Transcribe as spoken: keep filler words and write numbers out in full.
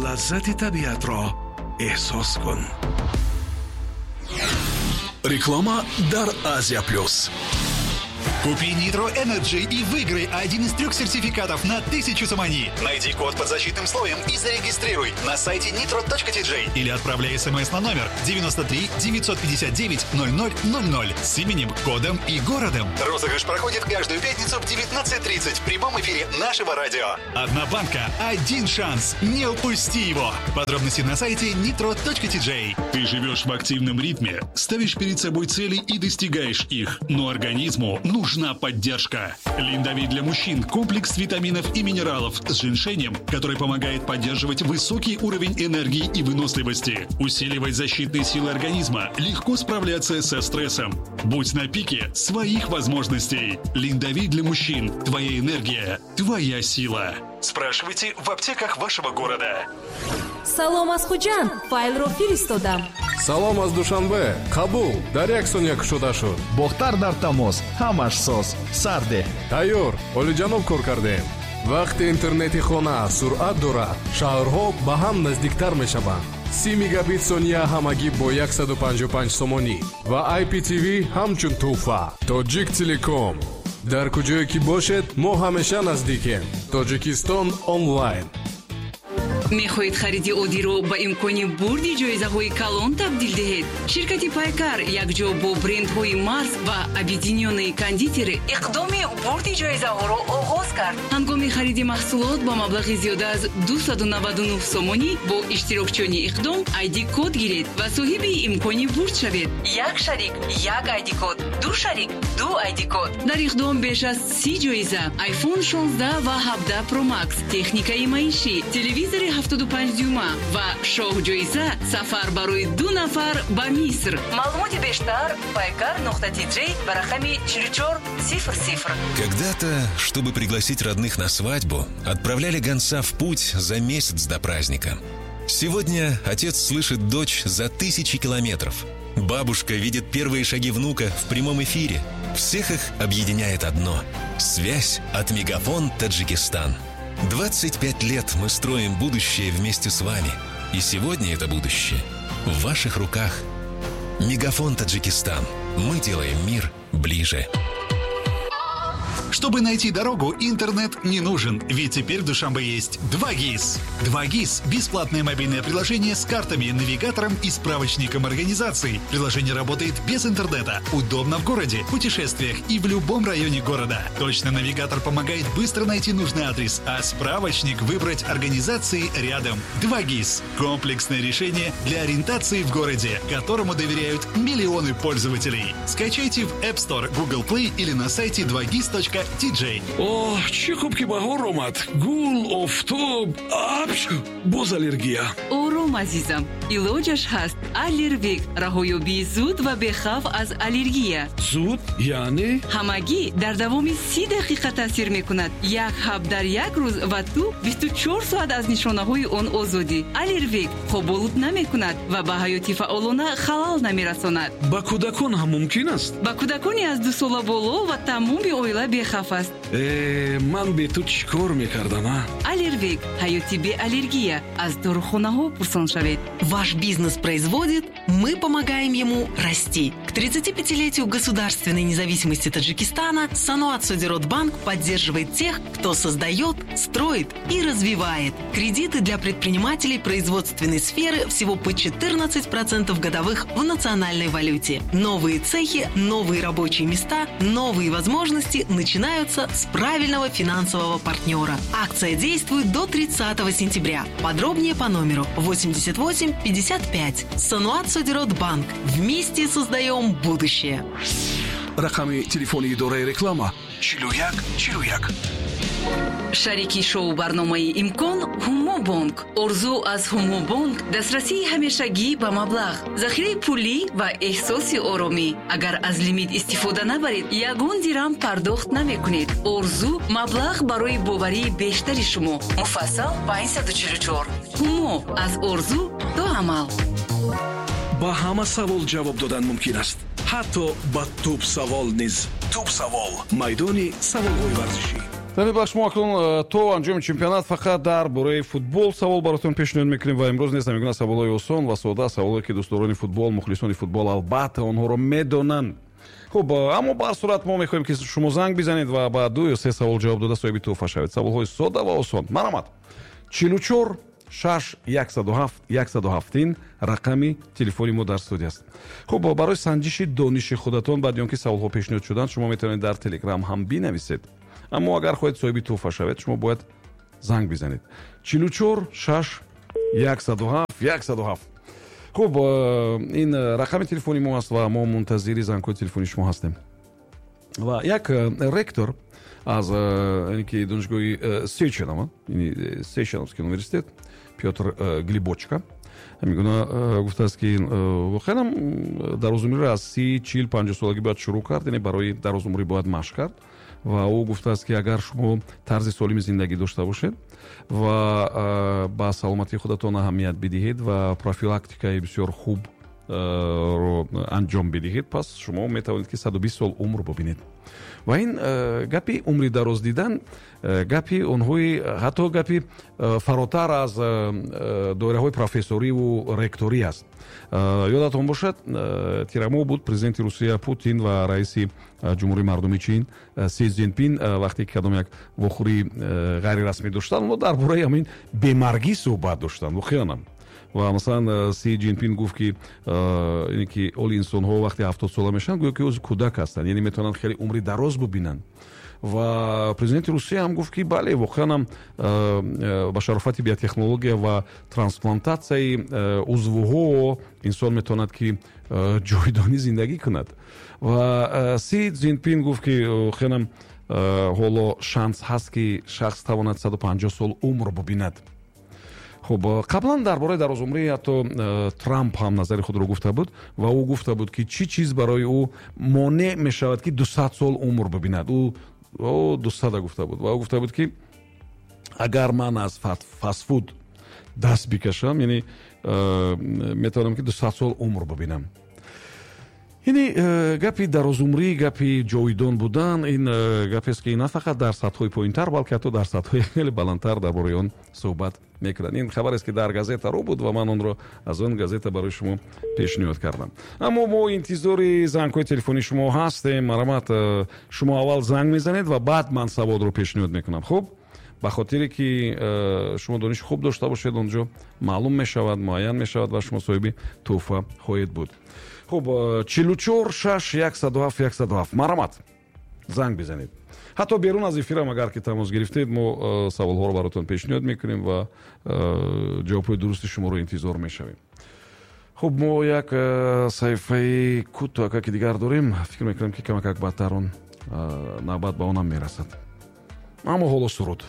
Лаззати табиатро эҳсос кун. Реклама дар Азия Плюс. Купи Nitro Energy и выиграй один из трех сертификатов на тысячу сомони. Найди код под защитным слоем и зарегистрируй на сайте nitro точка T J или отправляй смс на номер девяносто три девятьсот пятьдесят девять ноль ноль ноль ноль с именем, кодом и городом. Розыгрыш проходит каждую пятницу в девятнадцать тридцать в прямом эфире нашего радио. Одна банка, один шанс. Не упусти его. Подробности на сайте nitro точка T J. Ты живешь в активном ритме, ставишь перед собой цели и достигаешь их, но организму нужна поддержка. Линдовит для мужчин – комплекс витаминов и минералов с женьшенем, который помогает поддерживать высокий уровень энергии и выносливости, усиливать защитные силы организма, легко справляться со стрессом. Будь на пике своих возможностей. Линдовит для мужчин – твоя энергия, твоя сила. Спрашивайте в аптеках вашего города. Салом аз Хуҷанд, файлро фиристодам. Салом аз Душанбе, қабул, дар як сония кушода шуд. Бохтар дар тамос, ҳамаш соз, сарде. Тайёр, олиҷаноб, кор кардем. Вақте интернети хона суръат дорад, шаҳрҳо ба ҳам наздиктар мешаванд. Си мегабит сония ҳамагӣ бо яксаду панҷоҳу панҷ сомонӣ ва I P T V ҳамчун тӯҳфа. Тоҷик Телеком, дар куҷое ки бошед, мо ҳамеша наздикем. Тоҷикистон онлайн. Мехоҳед хариди оддиро ба имкони бурди ҷоизаҳои калон табдил диҳед? Ширкати Пайкар якҷо бо брендҳои Марс ва Объединённые кондитеры иқдоми бурди ҷоизаҳоро оғоз кард. Ҳангоми хариди маҳсулот ба маблағи зиёда аз дусаду наваду нӯҳ сомонӣ бо иштирокчиёни иқдом айди код гиред ва соҳиби имкони бурд шавед. Як шарик як айди код, ду шарик ду айди код. Дар иқдом беш аз си ҷоиза: iPhone шонздаҳ ва ҳабдаҳ Pro Max, техникаи маишӣ, телевизори ҳафтоду панҷ дюйма ва шоҳҷоиза сафар барои ду нафар ба Миср. Маълумоти бештар: пайкар нуқта тиҷ ба рақами чилу чор сифр сифр. Когда-то, чтобы пригласить родных на свадьбу, отправляли гонца в путь за месяц до праздника. Сегодня отец слышит дочь за тысячи километров. Бабушка видит первые шаги внука в прямом эфире. Всех их объединяет одно – связь от Мегафон Таджикистан. двадцать пять лет мы строим будущее вместе с вами. И сегодня это будущее в ваших руках. Мегафон Таджикистан. Мы делаем мир ближе. Чтобы найти дорогу, интернет не нужен, ведь теперь в Душанбе есть два ГИС. два ГИС – бесплатное мобильное приложение с картами, навигатором и справочником организаций. Приложение работает без интернета, удобно в городе, путешествиях и в любом районе города. Точно навигатор помогает быстро найти нужный адрес, а справочник – выбрать организации рядом. два ГИС – комплексное решение для ориентации в городе, которому доверяют миллионы пользователей. Скачайте в App Store, Google Play или на сайте два гис точка T J. Оҳ, чӣ хуб, ки баҳор омад. Гул, офтоб, апч, боз аллергия. Ором, азизам, илоҷаш ҳаст. Аллервек – раҳоёбии зуд ва бехавф аз аллергия. Зуд яъне? Ҳамагӣ дар давоми си дақиқа таъсир мекунад. Як ҳаб дар як рӯз ва ту бисту чор соат аз нишонаҳои он озодӣ. Аллервек хоболуд намекунад ва ба ҳаёти фаъолона халал намерасонад. Ба кӯдакон ҳам мумкин аст? Ба кӯдакони аз дусола боло ва тамоми оила бехавф аст. Э, ман бе ту чӣ кор мекардам, а? Аллервек – ҳаёти беаллергия. Аз дорухонаҳо пурсон шавед. Ваш бизнес производит, мы помогаем ему расти. К тридцатипятилетию государственной независимости Таджикистана Саноат Содирот Банк поддерживает тех, кто создает, строит и развивает. Кредиты для предпринимателей производственной сферы всего по четырнадцать процентов годовых в национальной валюте. Новые цехи, новые рабочие места, новые возможности начинаются с правильного финансового партнера. Акция действует до тридцатого сентября. Подробнее по номеру восемьдесят восемь пятьдесят пять. Саноат Содирот Банк. Вместе создаем будущее. Рақами телефони идораи реклама чилу як чилу як. Шарики шоу барномаи Имкон Ҳумобонк. Орзу аз Ҳумобонк: дастрасии ҳамешагӣ ба маблағ, захираи пулӣ ва эҳсоси оромӣ. Агар аз лимит истифода набаред, ягон дирам пардохт намекунед. Орзу: маблағ барои боварии бештари шумо. Муфассал панҷсаду чилу чор. Ҳумо: аз орзу то амал. Ба ҳама савол ҷавоб додан мумкин аст, ҳатто ба тӯбсавол низ. Тӯбсавол – майдони саволҳои варзишӣ. Дар ин бахш мо акнун то анҷоми чемпионат фақат дар бораи футбол савол баротон пешниҳод мекунем ва имрӯз нест ҳамин гуна саволҳои осон ва сода, саволҳое ки дӯстдорони футбол, мухлисони футбол албатта онҳоро медонанд. Хуб, аммо ба ҳар сурат мо мехоҳем ки шумо занг бизанед ва ба ду ё се савол ҷавоб дода соҳиби тӯҳфа шавед. Саволҳои сода ва осон. Марҳамат. чилу чор шаш яксаду ҳафт яксаду ҳафт ин рақами телефони мо дар студия аст. Хуб, барои санҷиши дониши худатон баъди он ки саволҳо пешниҳод шуданд, шумо метавонед дар Телеграм ҳам бинависед. Аммо агар хоҳед соҳиби тӯҳфа шавед, шумо бояд занг бизанед. чилу чор шаш яксаду ҳафт яксаду ҳафт. Хуб, ин рақами телефони мо аст ва мо мунтазири зангҳои телефони шумо ҳастем. Ва як ректор аз ки донишгоҳи Сеченова, Сеченовский университет, Пётр Глибочка, ҳамин гуна гуфтааст ки воқеан дарозумриро аз си, чил, панҷоҳ солагӣ бояд шурӯъ кард, яъне барои дарозумрӣ бояд машқ кард. Ва ӯ гуфтааст ки агар шумо тарзи солими зиндагӣ дошта бошед ва ба саломатии худатон аҳамият бидиҳед ва профилактикаи бисёр хуб ро анҷом бидиҳед, пас шумо метавонед ки саду бист сол умр бибинед. Ва ин гапи умри дароз дидан гапи онҳои ҳатто гапи фаротар аз доираҳои профессориву ректорӣ аст. Ёдатон бошад, тирамо буд президенти Русия Путин ва раиси Ҷумҳурии Мардумии Чин Си Цзинпин вақте ки кадом як вохӯрии ғайрирасмӣ доштанд, онҳо дар бораи ҳамин бемаргӣ суҳбат доштанд. Воқеанам. Ва масалан Си Цзинпин гуфт ки ине ки оли инсонҳо вақте ҳафтод сола мешаванд, гӯё ки ӯз кӯдак ҳастанд, яъне метавонанд хеле умри дароз бибинанд. Ва президенти Русия ҳам гуфт ки бале, воқеан ҳам ба шарофати биотехнология ва трансплантатсияи узвҳо инсон метавонад ки ҷовидонӣ зиндагӣ кунад. Ва Си Цзинпин гуфт ки воқеан ҳам ҳоло шанс ҳаст ки шахс тавонад саду панҷоҳ сол умр бибинад. Хуб, қаблан дар бораи дарозумрӣ ҳатто Трамп ҳам назари худро гуфта буд ва ӯ гуфта буд ки чӣ чиз барои ӯ монеъ мешавад ки дусад сол умр бибинад. Ӯ дусада гуфта буд ва ӯ гуфта буд ки агар ман аз фастфуд даст бикашам, яъне метавонам ки дусад сол умр бибинам. Яъне гапи дарозумрӣ, гапи ҷовидон будан ин гапест ки на фақат дар сатҳҳои поинтар, балки ҳатто дар сатҳҳои хеле баландтар дар бораи он суҳбат мекунанд. Ин хабарест ки дар газета рӯ буд ва ман онро аз он газета барои шумо пешниҳод кардам. Аммо мо интизори зангҳои телефони шумо ҳастем. Марҳамат, шумо аввал занг мезанед ва баъд ман саволро пешниҳод мекунам. Хуб, ба хотире ки шумо дониши хуб дошта бошед, онҷо маълум мешавад, муайян мешавад ва шумо соҳиби тӯҳфа хоҳед буд. Хуб, чилу чор шаш яксаду ҳафт яксаду ҳафт. Марҳамат, занг бизанед. Ҳатто берун аз эфирам агар ки тамос гирифтед, мо саволҳоро баротон пешниҳод мекунем ва ҷавобҳои дурусти шуморо интизор мешавем. Хуб, мо як саҳифаи кӯтоҳаки дигар дорем. Фикр мекунам ки камакак баъдтар он навбат ба онам мерасад. Аммо ҳоло суруд.